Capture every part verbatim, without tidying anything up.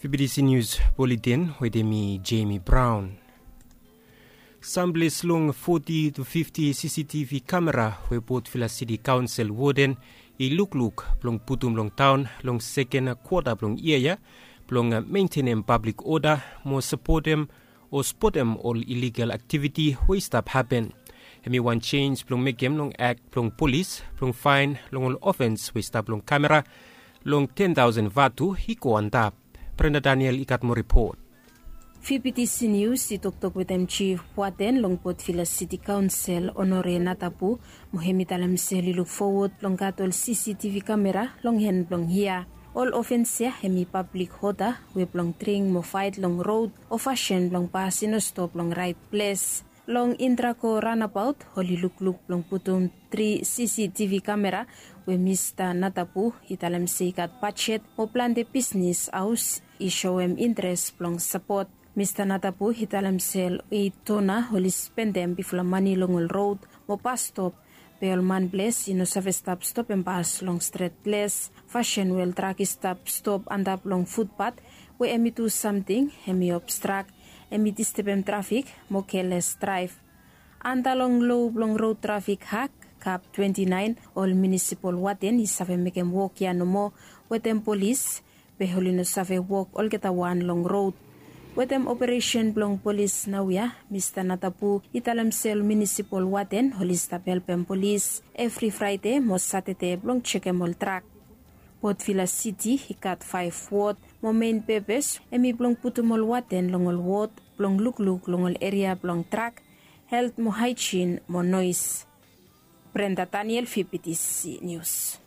Fibidisi nius buletin wetem mi, Jemi Braon. Samples long foti tu fifti C C T V kamera we Port Vila Siti Kaonsel woden i lukluk blong putum long taon long seken kwota blong yia ya blong mentenem pablik oda mo sapotem o spotem ol iligal aktiviti we i stap hapen. Hem i wan jenj blong mekem long akt blong polis blong faen long ol ofens we i stap long kamera long ten taosen vatu i go antap. Brenda Daniel i gat moa ripot. Fibidisi nius i toktok wetem jif waten long Port Vila Siti Kaonsel, Onore Natapu, mo hem i talem se oli luk fowod blong gat ol C C T V kamera long hen blong yia. Ol ofens ya hem i pablik oda we blong dring mo faet long rod o fasin blong bas i no stop long raet ples. Long Indrako ranabaot oli lukluk blong putum tri C C T V kamera we Mista Natapu i talem se i gat bajet mo plante bisnis haos i soem interes blong sapot. Mista Natapu i talem se ol eit dona oli spendem bifala mane long ol rod mo bas stop, be ol manples i no save stap stopem bas long stret ples. Fasin we ol trak i stap stop antap long futbat we hem i du samting hem i obstrak, hem i distebem trafik mo keles draev. Anda long lo blong rod trafik hak kap twenti naen, ol munisipol waten i save mekem wok ya nomo wetem polis, be oli no save wok olgeta wan long rod. Wetem operesen blong polis naoia, Mista Natapu i talem se ol munisipol waten oli stap helpem polis evri Fraede mo Satade blong jekem ol trak. Port Vila Siti i gat faef wod mo mein pepes hem i blong putum ol waten long ol wod blong lukluk long ol eria blong trak, helt mo haejin mo noes. Brenda Daniel, Fibidisi Nius.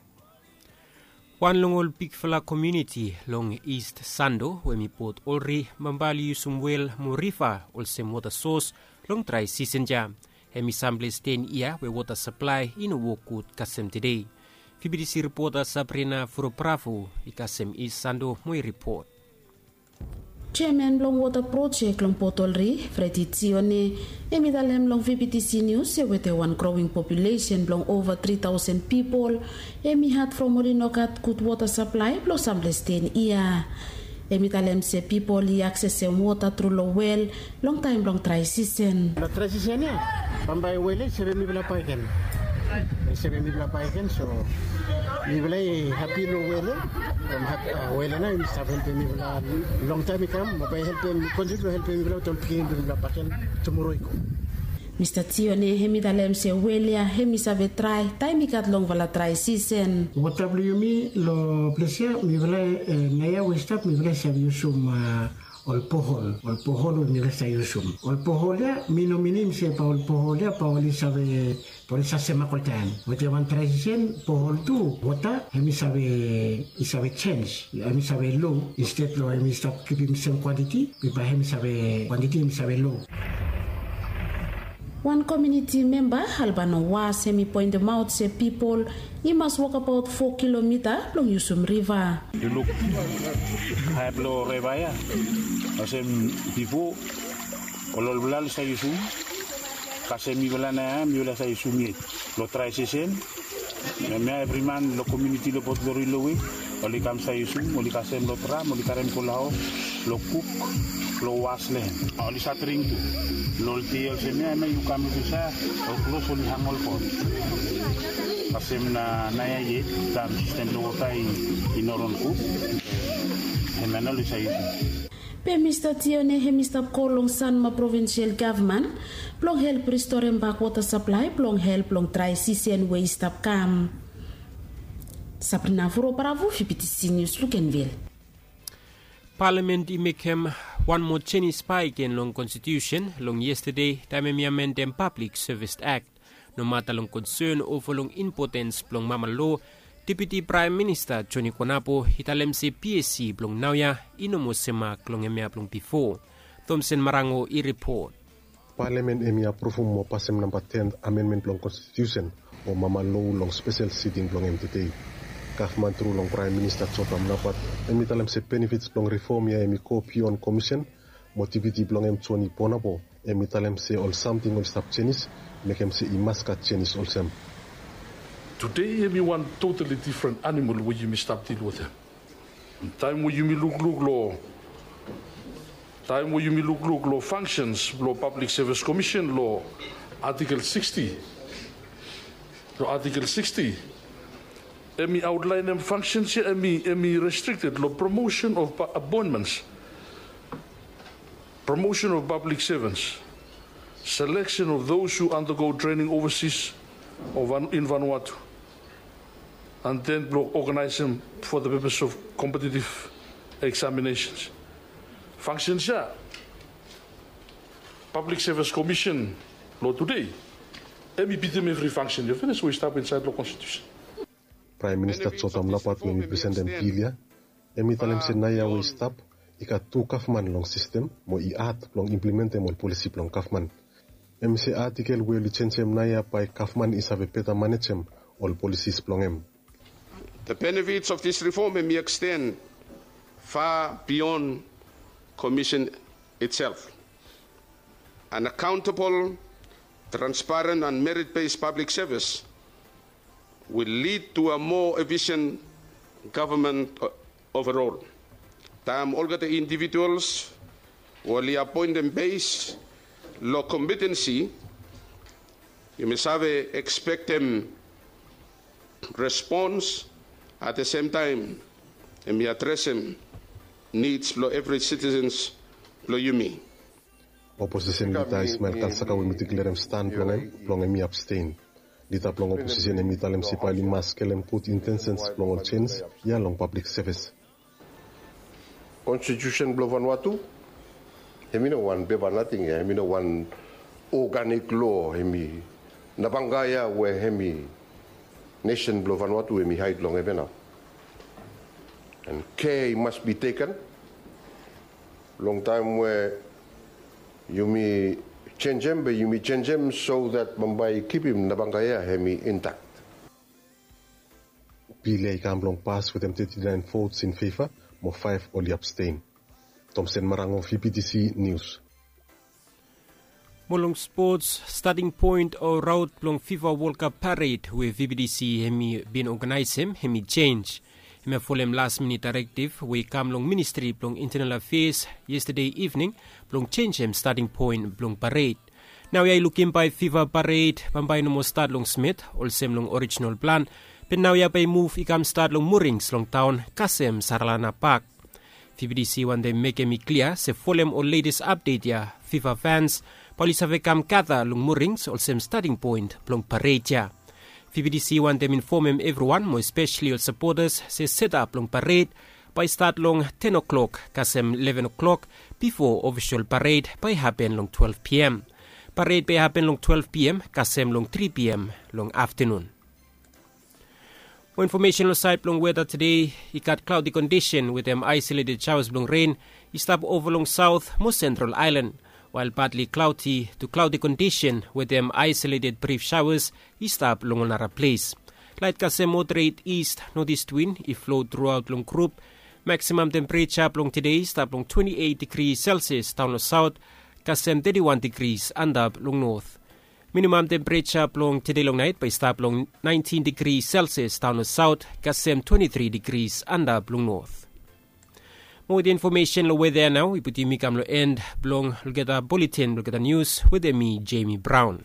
Wan long ol bigfala komuniti long Ist Sando we hem i Port Olri bambae oli yusum wel mo riva olsem wota sos long drae sisen ya. Hem i samples ten yia we wota saplae i no wok gud kasem tede. Fibidisi ripota Sabrina Furobrafu i kasem Ist Sando mo i ripot. Jeaman blong wota projek long Port Olri, Fredi Tione, hem i talem long Fibidisi Nius se wetem wan growing populesen blong ova tri taosen pipol, hem i had from oli no gat gud wota saplae blong samples ten yia. Hem i talem se pipol i aksesem wota tru long wel long taem blong drae sisen. Long drae sisen ya bambae wel ya i save mifala bae gen. I save mifala bae gen, so mifala i hapi long wel ya. From wel ya nao i save helpem mifala long taem i kam, mo bae i helpem, kontiniu blong helpem mifala wetem ol pikinini blong mifala bakegen tumoro i go. Mista Tione hem i talem se wel ya hem i save drae taem i gat longfala drae sisen. Wota blong yumi long ples ya mifala, naoia we i stap mifala i save yusum ol bohol, ol bohol we mifala i save yusum. Ol bohol ya mi no minim se bae ol bohol ya bae oli save, bae oli save semak oltaem. Wetem wan drae sisen bohol tu wota hem i save, i save jenj. Hem i save lo, insted long hem i stap kipim sem kwantiti, be bae hem i save, kwantiti hem i save lo. Wan komuniti memba, Albano Was, hem i poentemaot se pipol i mas wokabaot fo kilomita blong yusum riva. Yu luk hae blong riva ya, olsem bifo ol olfala oli save yusum, kasem mifala naoia mifala save yusum yet. Long drae sisen hemia evri man long komuniti long Port Olri lowe oli kam save yusum, oli kasem long dram, oli karem go long haos blong kuk, blong was long hem. Oli save dring tu. Long ol dei olsem ya hemia yu kam lukim save ol klos oli hang ol pot. Kasem na naoia yet taem sistem blong wota i no ron gud, hemia nao oli save yusum. Be Mista Tione hem i stap kol long Sanma Provinsel Gavman blong help ristorem bak wota saplae blong help long drae sisen we i stap kam. Sabrina Furo Paravu, Fibidisi Nius, Lukenvil. Palamen i mekem wan moa jenis bakegen long konstitiusen long yestade taem hem i amendem Pablik Sevis Akt. Nomata long konsen ova long impotens blong mama lo, Deputi Praem Minista Joni Konapo i talem se PSC blong naoia i no moa semak long hemia blong bifo. Thomsen Marango i ripot. Palamen hem i apruvum mo pasem namba ten amenmen blong konstitiusen o mama lo long spesel siting blong hem tede. Gavman tru long Praem Minista Jotam Napat hem i talem se benefits blong rifom ya hem i go bion komisen, mo Deputi blong hem Joni Konapo hem i talem se ol samting oli stap jenis mekem se i mas gat jenis olsem. Tede hem i wan totali difren animol we yumi stap dil wetem. Taem we yumi lukluk long Taem we yumi lukluk long functions blong Public Service Commission long Article sixty, long Article sixty, hemi outlaenem functions ia hemi restricted long promotion of appointments, promotion of public servants, selection of those who undergo training overseas or in Vanuatu, and then blong organizem for the purpose of competitive examinations. Functions ia, Public Service Commission long tudei, hemi bitim evri function ia finis we i stap insaed long constitution. Praem Minista Jotham Napat we hemi presentem bil ia, hemi talem se naoia we i stap, i gat tu gavman long sistem mo i had blong implementem ol polisi blong gavman. Hemi se atikel we oli jenjem naoia bae gavman i save beta manejem ol polisis blong hem. The benefits of this reform hemi extend far beyond commission itself. An accountable, transparent and merit-based public service will lead to a more efficient government overall. Taem olgeta individuals we oli appointem base long competency, yumi save expectem response at the same time hemi adresem needs blong evri citizens blong yumi. Oposisen lida Ismael Kalsaka we hemi diklerem stan blong hem blong hemi abstain. Lida blong oposisen hemi talem se bae oli mas skelem gud intensens blong ol jenj ia long pablik sevis. Konstitusen blong Vanuatu hemi no wan pepa nating ia, hemi no wan organik loa, hemi nabanga ia we hemi nesen blong Vanuatu hemi haed long hem ia nao. And care must be taken long taem we yumi jenjem be yumi jenjem so that bambae i kipim nabanga ia hemi intact. Bil ia i kam blong pas wetem teti naen vots in feva mo faef oli abstain. Tomsen Marango, V B T C News. Mo long spots, stating point o raot blong FIFA World Cup pared we V B T C hemi bin oganaesem hemi jenj. Hemia folem las minit daerektiv we i kam long Ministri blong Intenal Afeas yestade ivning blong jenjem stating point blong pared. Naoia i lukim bae FIFA pared bambae i no moa stat long Smith olsem long orijinal plan, be naoia bae i muv i kam stat long Murings long taon kasem Saralana Pak. V B T C wantem mekem i klia se folem ol letes apdet ia FIFA fans bae oli save kam gata long Murings olsem stating point blong pared ia. V B T C wantem infomem evriwan mo espeseli ol sapotas se setap blong pared bae i stat long ten o'clock kasem eleven o'clock bifo ofisol pared bae i hapen long twelve p.m. Pared bae i hapen long twelve p.m. kasem long three p.m. long aftanun. Mo infomesen long saed blong weta tede, i gat klaodi kondisen wetem aesoleted shaoas blong ren i stap ova long saot mo sentral aelan, wael badli klaodi tu klaodi kondisen wetem aesoleted brif shaoas i stap long ol nara ples. Laet kasem moderet ist notist win i flo truaot long grup. Maksimam tempereja blong tede i stap long twenti eit digri selsias daon long saot kasem teti wan digris antap long not. Minimam tempereja blong tede long naet bae i stap long naentin digri selsias daon long saot kasem twenti tri digris antap long not. Mo wetem infomesen long weta ia nao i putum mi kam long en blong olgeta buletin blong olgeta nius wetem mi, Jemi Braon.